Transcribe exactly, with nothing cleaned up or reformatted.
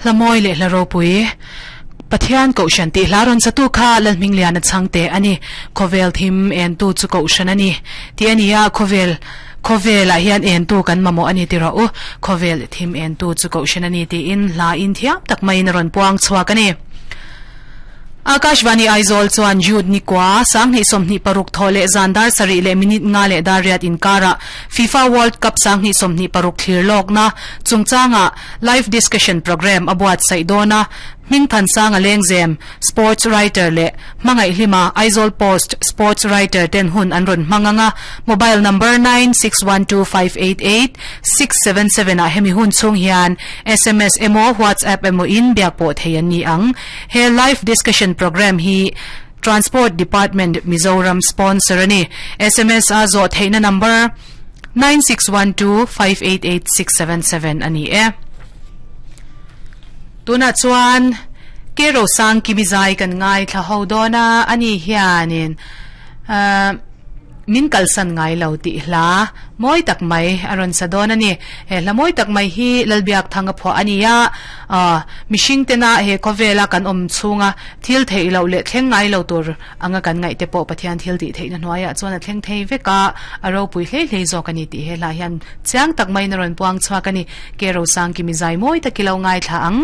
Hlamawi leh hla ropui Pathian Kohhran tih hla rawn satu kha Lalhmingliana chhangte a ni. Khawvel thim entu chu Kohhran a ni tih a ni a, khawvel khawvelah hian entu kan mamawh a ni ti rawh u. Khawvel thim entu chu Kohhran a ni tiin hla in thiam tak maiin a rawn puang chhuak a ni. Akashvani Aizawl chuan Jude Nikua, Sanghnih sawmhnih paruk thaw leh zan dar sarih leh minute nga leh dar riat inkarah FIFA World Cup Sanghnih sawmhnih paruk thlir lawkna chungchangah Live Discussion Programme a buatsaih dawn a, Hmingthansanga Lengzem, Sports Writer leh Hmangaihhlima, Aizawl Post Sports Writer ten hun an rawn hmang ang a, Mobile Number nine six one two five eight eight six seven seven ah hemi hun chhung hian sms emaw WhatsApp emaw in biak pawh thei an ni ang. He Live Discussion Programme hi Transport Department Mizoram sponsor a ni. Sms a zawh theihna number nine six one two five eight eight six seven seven a ni e. Tunah chuan Ke Rosang Kimi zai kan ngaithla ho dawn a, ani hianin min kalsan ngai lo tih hla mawi tak mai a rawn sa dawn a ni. He hla mawi tak mai hi Lalbiak Thanga phuah a ni a, mihring tena he khawvela kan awm chhunga thil theih loh leh thleng ngai lo tur anga kan ngaih te pawh Pathian thil tih theihna hnuaiah chuan a thleng thei vek a, a ropui hlei hlei zawk a ni tih he hla hian chiang tak maiin a rawn puang chhuak a ni. Ke Rosang Kimi zai mawi tak i lo ngaithla ang.